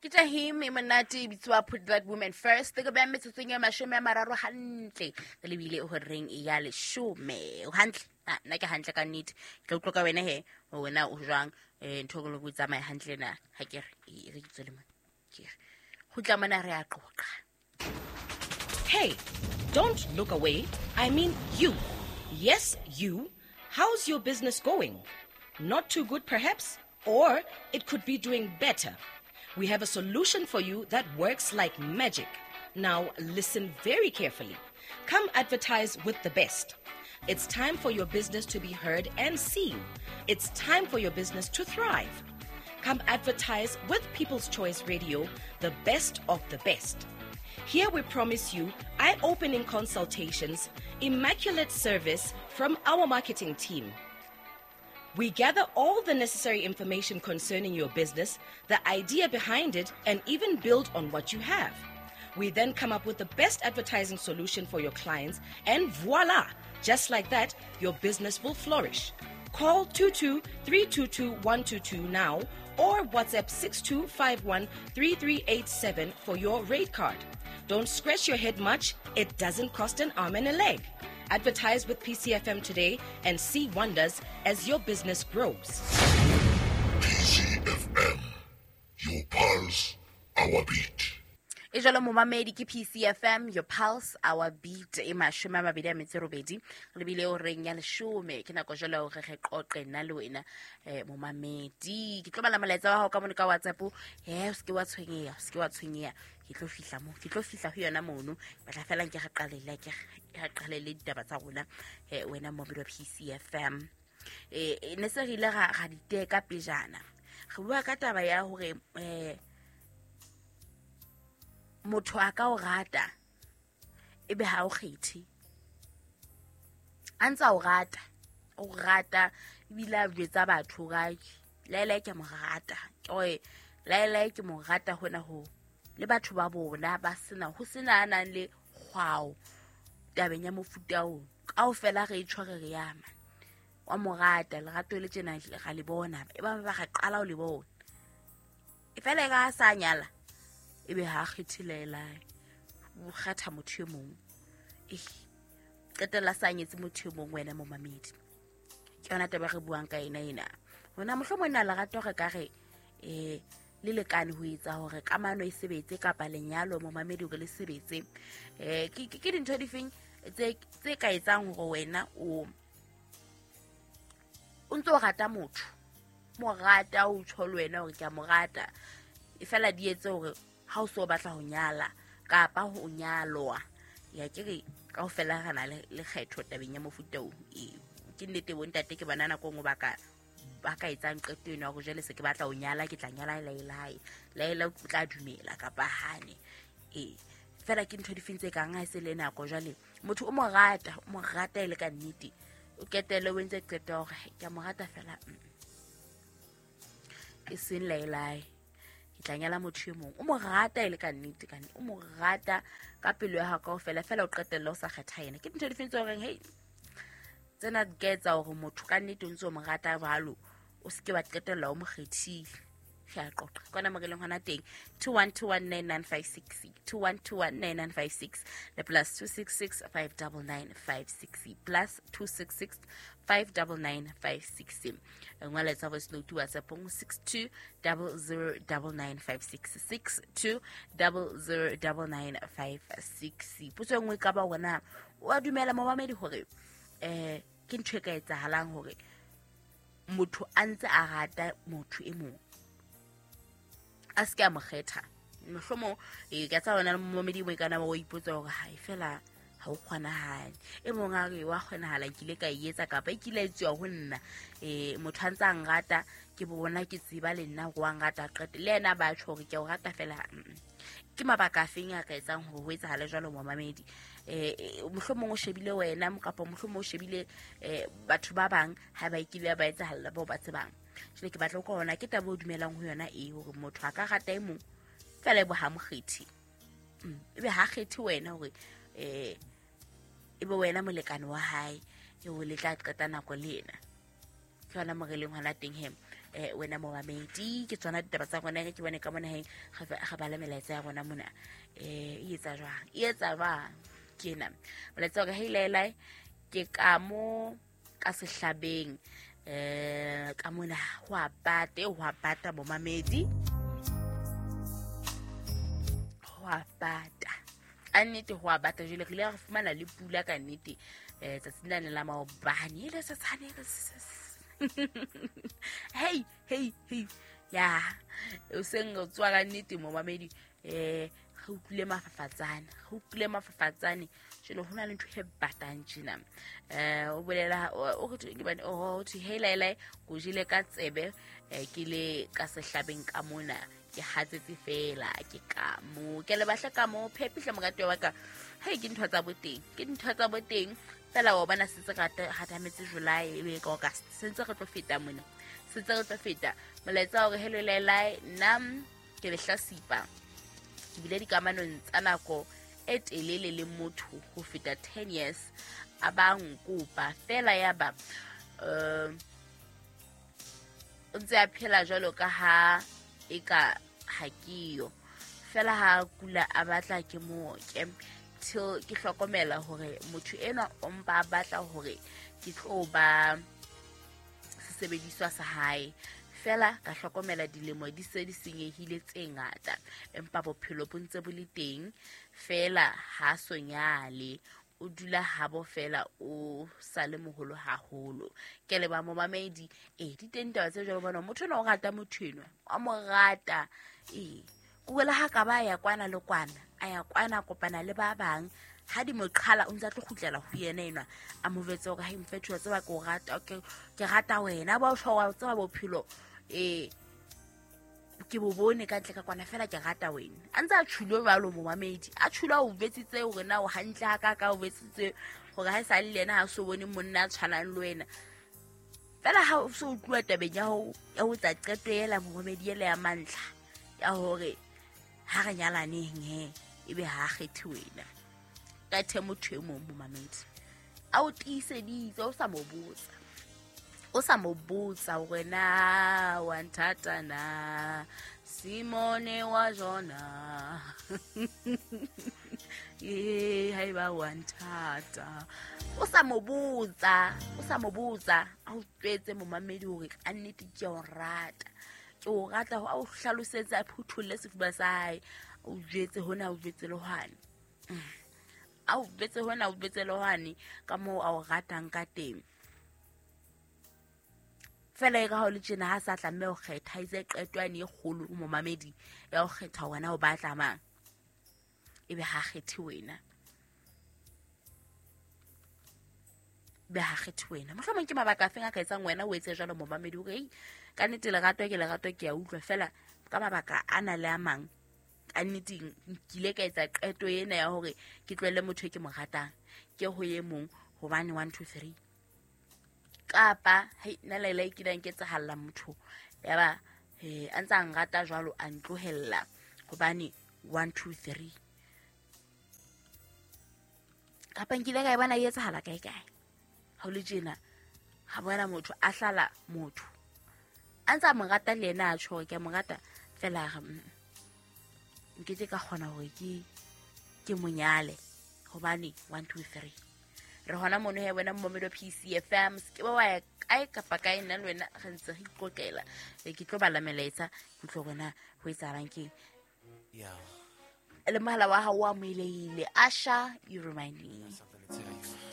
Ke Jahim e monate e bitswa Put That Woman First. Ke beha metsotsong e 30 hantle. Re lebile horeng ya 10. O hantle? Ah, nna ke hantle ka nnete. Ke tla utlwa ka wena he, hore wena o jwang. Ntho e o tsamaya hantle na. Ha ke re, e re ke tswele mona. Ke re. Kgutla mona re a qoqa. Hey, don't look away. I mean you. Yes, you. How's your business going? Not too good, perhaps? Or it could be doing better. We have a solution for you that works like magic. Now, listen very carefully. Come advertise with the best. It's time for your business to be heard and seen. It's time for your business to thrive. Come advertise with People's Choice Radio, the best of the best. Here we promise you eye-opening consultations, immaculate service from our marketing team. We gather all the necessary information concerning your business, the idea behind it, and even build on what you have. We then come up with the best advertising solution for your clients, and voila! Just like that, your business will flourish. Call 22-322-122 now or WhatsApp 6251-3387 for your rate card. Don't scratch your head much. It doesn't cost an arm and a leg. Advertise with PCFM today and see wonders as your business grows. PCFM, your pulse, our beat. E jalo momamedi ke PCFM, your pulse, our beat. E 28 re bile o reng ya 10. Ke nako jalo hore re qoqe nna le wena, momamedi. Ke tlo bala molaetsa wa hao ka mone ka WhatsApp. O se ke wa tshwenyeha, o se ke wa tshwenyeha. Ke tlo fihla mo, ke tlo fihla ho yona mono. Batla fela nke re qalele, ke re qalele ditaba tsa rona, wena momamedi wa PCFM. Ne se re ile ra diteka pejana. Re bua ka taba ya hore motho a ka o rata ebe ha o kgethe. A ntse a o rata, o rata ebile a jwetsa batho hore laelae ke mo rata. Ke hore laelae ke mo rata hona ho. Le batho ba bona ba sena, ho sena a nang le kgwao tabeng ya mofuta oo. Kaofela re e tshwere re yama. Wa mo rata, lerato le tjena ra le bona. E ba ba re qala ho le bona. E fela e ka sa nyala, ebe ha kgethe laelae. O kgetha motho e mong. Qetella sa nyetse motho e mong wena momamedi. Ke yona taba re buang ka ena ena. Hona mohlomong na lerato re ka re, le lekane ho etsa hore kamano e sebetse kapa lenyalo momamedi hore le sebetse. Ke dintho difeng tse ka etsang hore wena o ntso o rata motho? Mo rata, o tjho le wena hore ke a mo rata. E fela di etse hore ha o so batla ho nyala kapa ho nyalwa. Ya ke re kaofela re na le kgetho tabeng ya mofuta oo. Ke nnete bo ntate ke bona nako e nngwe ba ka etsang qeto eno ya hore jwale se ke batla ho nyala, ke tla nyala laelae. Laela o tla dumela kapa hane. Fela ke ntho difeng tse kang ha e se le nako jwale motho o mo rata, o mo rata e le ka nnete. O qetelle o entse qeto ya hore ke a mo rata fela, E seng laelae. Ke tla nyala motho e mong. O mo rata e le ka nnete, ka nnete. O mo rata ka pelo ya hao kaofela, fela o qetelle o sa kgetha yena. Ke dintho difeng tse horeng, hei, tsena di ka etsa hore motho ka nnete o ntse o mo rata jwalo, o se ke wa qetella o mo kgethile. Re a qoqa. Kwana mo re leng hona teng, 21219956, 21219956, le plus two six six five double nine five six, plus two six six five double nine five six. Ngwala tsa voice note WhatsApp go six two double zero double nine five six, six two double zero double nine five six. Potso e nngwe ka ba hore na o a dumela momamedi hore, ke ntho e ka etsahalang hore motho a ntse a rata motho e mong, a se ke a mo kgetha. Mohlomong, ka tsa wena momamedi mo e ka nna wa ipotsa hore ha e fela ha o kgonahale. E mong a re wa kgonahala, ke ile ka e etsa kapa e kile ya etsuwa ho nna. Motho a ntse a nrata, ke bona ke tseba le nna hore wa nrata, qete le yena ba tjho hore ke a o rata fela. Ke mabaka a feng a ka etsang hore ho etsahale jwalo momamedi? Mohlomong o shebile wena kapa mohlomong o shebile, batho ba bang ha ba kile ba etsahalla bao ba tsebang. Jwale ke batla ho utlwa hore na ke taba o dumelang ho yona e hore motho a ka rata e mong fela e bo ha mo kgethe. Ebe ha kgethe wena hore, ebe wena molekane wa hae, eo le tla qeta nako le yena. Ke yona mo re leng hona teng he. Wena momamedi, ke tsona ditaba tsa rona. Ke bone ka mona he re bala melaetsa ya rona mona. E etsa jwang? E etsa jwang? Ke ena molaetsa wa ka. Hei laelai, ke ka mo ka sehlabeng, ka mona ho a bata, ho a bata momamedi, ho a bata ka nnete, ho a bata. Jwale re ile ra fumana le pula ka nnete, tsatsing lane la maobane, e le setshane. Hei hei hei, ya o seng re tswa ka nnete momamedi. Re utlwile mafafatsane, re utlwile mafafatsane. Jwale ho na le ntho e batang tjena. O bolela o re ke bane, o thwe hei laelai, ko jele ka tsebe, ke le ka sehlabeng ka mona, ke hatsetse fela, ke ka mo ke le bahle ka mo phepihle morati wa ka. Hei, ke ntho tsa boteng, ke ntho tsa boteng fela. Wa bona sentse re hatametse July, ebe ka August, sentse re tlo feta mona, sentse re tlo feta. Molaetsa hore hello laelai, nna ke lehlasipa, ke bile dikamanong tsa nako e telele le motho ho feta 10 years, a ba nkopa fela, ya ba o ntse a phela jwalo ka ha e ka ha ke yo fela, ha kula a batla ke mooke, till ke hlokomela hore motho enwa o mpa a batla hore ke tlo ba sesebediswa sa hae fela. Ka hlokomela dilemo di se di senyehile tse ngata, empa bophelo bo ntse bo le teng fela. Ha sonyale o dula habo fela, o sale moholo haholo. Ke leba momamedi. Di teng taba tse jwalo. Bona motho enwa o rata motho enwa, wa mo rata. Kuela ha ka ba ya kwana le kwana, a ya kwana, kopana le ba bang, ha di mo qhala, o ntse a tlo kgutlela ho yena enwa, a mo jwetse hore ha mfethu, wa tseba ke o rata, ke rata wena, ba o tjho, wa tseba bophelo ke bo bone ka ntle ka kwana fela, ke rata wena. A ntse a tjhulo jwalo momamedi, a tjhulo, a o jwetsitse hore na o hantle ha ka ka, o jwetsitse hore ha e sa le yena ha so bone monna a tshwanang le wena fela. Ha o so utluwa tabeng ya ho etsa qeto ela momamedi, ela ya mantlha ya hore ha re nyalaneng, he ebe ha kgethe wena, kgethe motho e mong momamedi. A o tiiseditse, o sa mo botsa, o sa mo botsa hore na wa nthata na, Simone wa Jona, haeba wa nthata. O sa mo botsa, o sa mo botsa, a o tswetse momamedi hore ka nnete ke o rata, ke o rata, a o hlalosetse, a phutholle sefuba sa hae, o jwetse hona, o jwetse le hwane, a o jwetse hona, o jwetse le hwane, ka moo a o ratang ka teng fela. E ka ha o le tjena, ha sa tlameha ho kgetha, itse qeto yane e kgolo momamedi ya ho kgetha wena o batla mang, ebe ha kgethe wena, be ha kgethe wena. Mohlomong ke mabaka a feng a ka etsang wena o etse jwalo momamedi, hore ka nnete lerato ke lerato, ke a utlwa fela ka mabaka a na le a mang, ka nnete nkile ka etsa qeto ena ya hore ke tlohelle motho e ke mo ratang, ke ho e mong, hobane 1 2 3. Kapa hei nna laela e kileng ke etsahalla motho ya ba a ntse a nrata jwalo, a ntlohella hobane 1 2 3. Kapa nkile ka e bona e etsahala kae kae, ha o le tjena ha bona motho a hlala motho a ntse a mo rata le yena, a tjho hore ke a mo rata fela, a re nkeke ka kgona hore ke monyale hobane 1 2 3. Re hona mono he wena momamedi wa PCFM, se ke ba wa ya kae kapa kae, nna le wena re ntse re iqoqela. Ke tlo bala melaetsa, ke tlo bona ho etsahalang keng. Le mohala wa hao o amohelehile. Asha, you remind me.